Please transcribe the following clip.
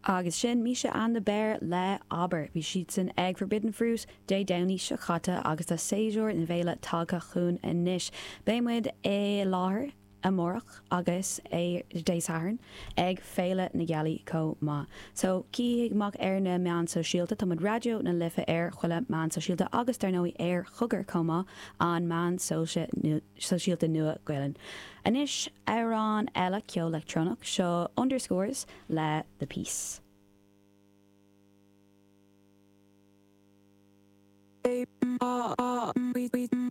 Agus sin Misha and the Bear le Abair. Bhí siadsan ag Forbidden Fruit Dé Domhnaigh seo caite agus tá séasúr na bhféile tagtha chugainn anois. Beidh muid i láthair amárach agus ar Dé Sathairn ag Féile na Gealaí chomh maith. So, coinnigh amach ar na meáin sóisialta, tá muid Raidió na Life ar chuile meán sóisialta agus dar ndóigh ar Chogar chomh maith, an meán sóisialta nua Gaelainn. Anois amhrán eile ceol leictreonach, seo Underscores le The Peace.